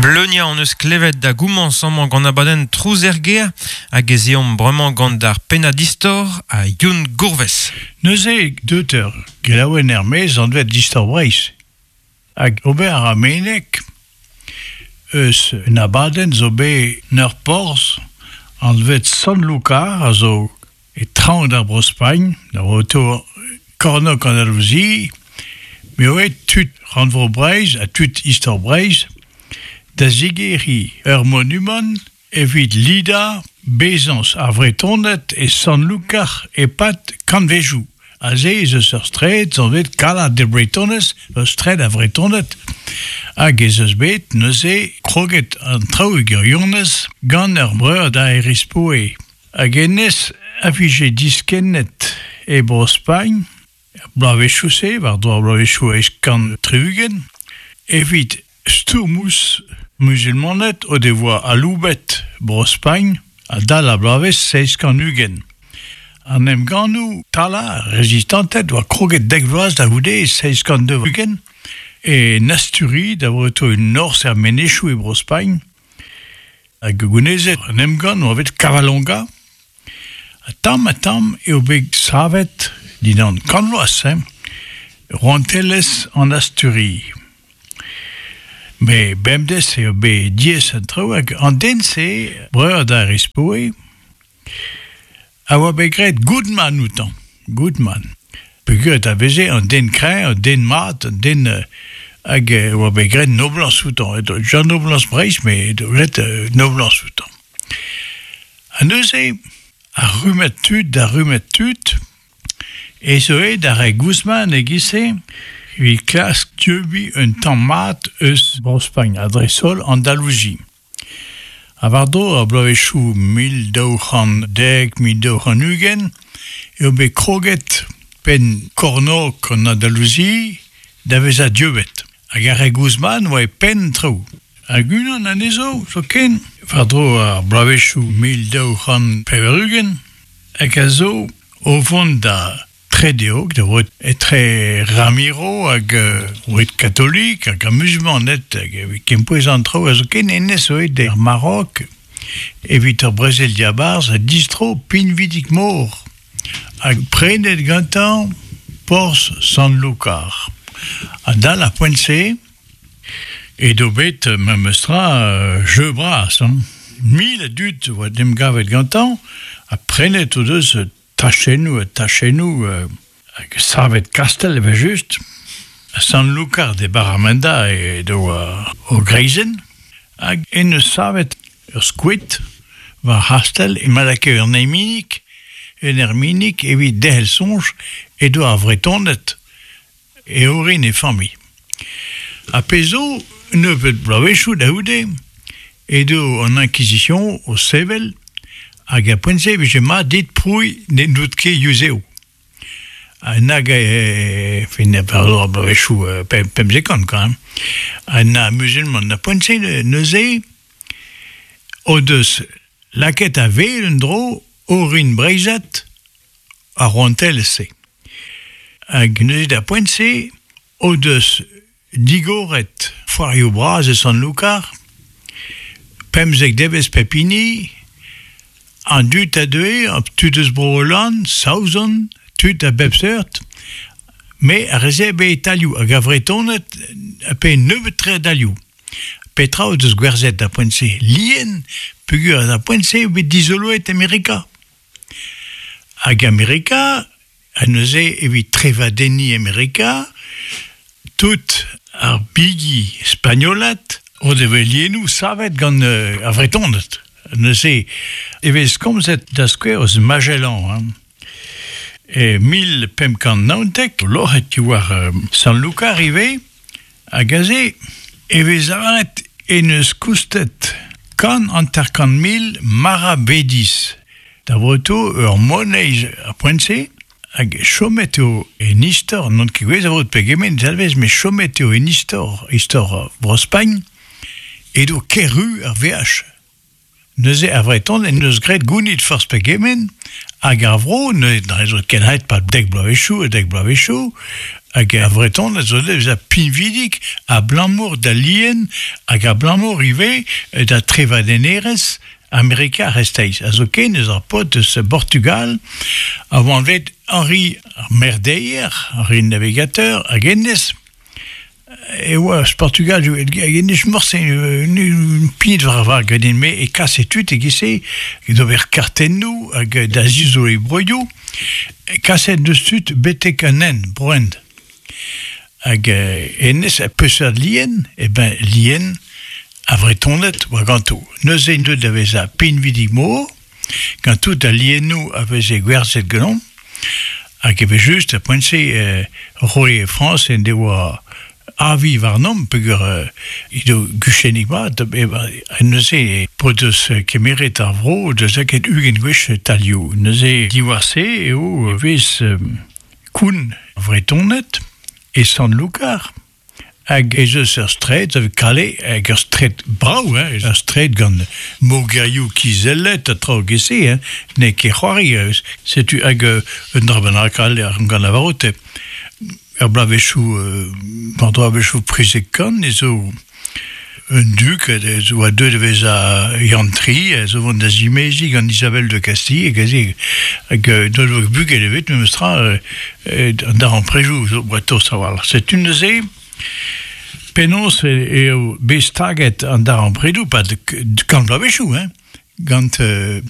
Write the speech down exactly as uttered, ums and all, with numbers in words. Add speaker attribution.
Speaker 1: Bleunia hon eus klevet da goumañs amañ gant abadenn Trouz er gêr hag ez eomp bremañ gant ar pennad istor a Youn Gourvez.
Speaker 2: Neuze deut ur gelaouenn er-maez anvet Istor Breizh. Hag ober a meneg eus un abadenn zo bet 'n ur porzh anvet Sant-Lukar a zo e traoñ d'ar Bro-Spagn, da oto kornôg Andalousie, me oe tud rannvro Breizh ha tud Istor Breizh da zigeriñ ur monumant evit lidañ bezañs ar Vretoned e Sant-Lukar e-pad kantvejoù. Aze ez eus ur straed anvet Cala de Bretones, ur straed a Vretoned, hag ez eus bet neuze kroget an traoù e gwirionez gant ur breur da Erispoe. Hag hennezh a vije diskennet e Bro-Spagn, bloavezhioù-se, war-dro ar bloavezhioù eizh kant tri-ugent, evit stourm ouzh musulmaned o devoa aloubet Bro-Spagn adal ar bloavezh seizh kant ugent. An emgannoù talañ rezistanted oa kroget dek vloaz da c'houde e seizh kant daou-ugent e Asturi da vreto un norzh er menezioù e Bro-Spagn hag gounezet an emgann oa bet Covadonga. Ha tamm ha tamm eo bet savet dindan kant vloaz, hein, rouantelezh an Asturi. Me bemdez eo bet diaes an traoù hag an den-se, breur da Erispoe, a oa bet graet Goodman outañ. Goodman. Peogwir a veze an den kreñv, an den mat, an den hag e oa bet graet noblañs outañ. Edo Jean Noblañs Breizh, met edo graet noblañs outañ. Ha neuze, ar rummad tud da rummad tud, ez eo aet ar re Guzman e-giz-se evit klask dieubiñ un tamm mat eus Bro-Spagn, ha dreist-holl Andalousie. Ha war-dro ar bloavezhioù mil daou c'hant dek, mil daou c'hant ugent, eo bet kroget penn kornôg an Andalousie da vezañ dieubet. Hag ar re Guzman oa e penn traoù. Hag unan anezho zoken, war-dro ar bloavezhioù mil daou c'hant pevar-ugent, hag a zo o vont da tredeog, da vout etre Ramiro hag uh, katolik hag ar musulmaned hag evit kempouez an traoù a zo ken hennezh oe d'ar Maroc evit ur brezel diabarzh ha distro pinvidik-mor hag prenet gantañ porzh Sant-Lukar. Adal ar poent-se edo bet memestra uh, jeu bras. Hein. Mil a dud oa 'n em gavet gantañ ha prenet o deus tachennoù ha tachennoù euh, hag savet kastell evel-just. Sant-Lukar de Barramenda edo uh, o greizenn hag en eus savet ur skoed war c'hastell e ma lakae un erminig, un erminig evit derc'hel soñj edo ar Vretoned e orin e familh. Ha pezh zo nebeut bloavezhioù da c'houde edo an Inquisition o sevel hag ar poent-se e vije mat dit prouiñ ne n'out ket yuzev. Ha nag e fin war ar bloavezhioù pemzek kant quand même. Ha na musulman na poent-se neuze o deus lakaet a-wel un dro orin breizhat ar rouantelezh-se. Hag neuze da poent-se o deus digoret foarioù bras e Sant-Lukar, pemzek devezh pep hini, an dud a deue, tud eus Bro-Holland, Saozon, tud a bep seurt, me a reze be talioù hag a Vretoned pe nebeut tre a dalioù. Petra o deus gwerzhet da poent-se? Lien, peogwir da poent-se eo bet dizoloet Amerika. Hag Amerika, ha neuze evit trevadenniñ Amerika, tout ar bigi spagnolat o devoa lienoù savet gant euh, ar Vretoned. Neuze e vez komzet da skouer eus Magellan. Hein. E mil pemp kant naontek, loc'het diwar euh, Sant-Lukar ivez, hag aze e vez lavaret en eus koustet kant hanter-kant mil maravedis. Da vreto ur moneiz ar poent-se, hag chomet eo en istor, n'on ket gouez a vot pegement, dalvez, met chomet eo en istor, istor Bro-Spagn, edo ker-ru ar veaj. Neuze ar Vreton en deus graet gounit forzh pegement, hag ar vro, neuze n'en deus ket aet pad dek bloavezhioù, dek bloavezhioù, Hag ar Vretoned zo deus a pinvidik a blamour da lien hag a blamour ivez da trevadennerezh Amerika ar C'hreisteiz. A zo ken eus ar paotr eus Portugal a oa anvet Henri ar Merdeer, Henri Navigateur, hag hennezh e oa eus Portugal, hag hennezh morse pignet war ar vag ganin me e kase tud e giz-se d'ober kartennoù hag da zizoloiñ broioù, kaset deus tud betek an hent, Bro-Hent. Hag hennezh a peseurt lien, e ben lien a Vretoned oa ganto. Neuze int deuet da vezañ pinvidik-mor, gant tout al liennoù a veze gwerzhet ganeomp, hag eve just a poent-se euh, roue Frañs en devoa avi warnomp peogwir euh, edo guchennig mat, e, neuze p'o deus kemeret ar vro deus lakaet ugent gwech talioù. Neuze diwar-se eo vez euh, koun Vretoned e Sant-Lukar, hag ez eus ur straed, a vez Calais, hag ur straed brav, hein, ur straed gant mogerioù kizellet ha traoù giz-se, hein, n'eo ket c'hoari, setu hag un dra bennak all ar gant lavarout, ur bloavezhioù, euh, bloavezhioù prizek kant, e zo un duk, ez oa deuet da vezañ Yann Tri, ez o vont da zimeziñ gant Isabelle de Castille, hag aze, hag n'o doa bugel ebet, memes tra, an darempredoù zo oa tost a-walc'h. Setu neuze, penaos eo bet staget an darempredoù, pad kant bloavezhioù, hein, gant euh,